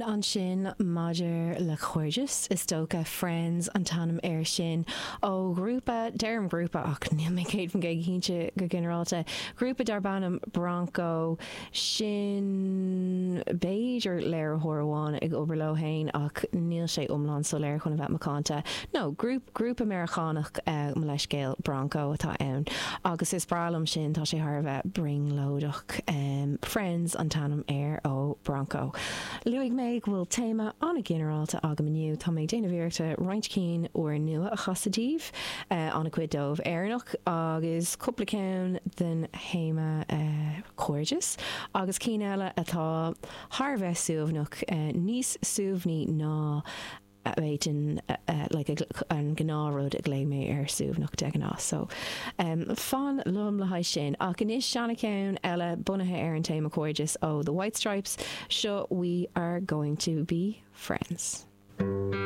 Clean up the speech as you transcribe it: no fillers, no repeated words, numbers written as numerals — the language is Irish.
Ceann ansin maidir le cairdeas, is dócha, Friends an t-ainm air sin, ó ghrúpa, deirim grúpa ach níl mé 100% cinnte go ginearálta, grúpa darb ainm Bronco, sin b'fhéidir léiritheoir amháin ag obair leo fhéin ach níl sé iomlán soiléir chun a bheith macánta. No, grúpa Meiriceánach, mo leithscéal, Bronco atá ann agus is breá liom sin, tá sé thar a bheith brionglóideach. Friends an t-ainm air ó Bronco. Luaigh mé go bhfuil téama an-ghinearálta agam inniu, tá mé ag déanamh iarrachta roinnt cinn úrnua a chasadh daoibh, an-chuid dóibh Éireannach agus cúpla ceann den théama cairdeas agus cinn eile atá thar a bheith suaimhneach, níos suaimhní ná a bhféadfainn like an gnáthrud a ghlaoigh mé ar suaimhneach de ghnáth. So fan liom le haghaidh sin. Ach anois seana-cheann eile bunaithe ar an téama cairdeas ó The White Stripes, seo We Are Going To Be Friends.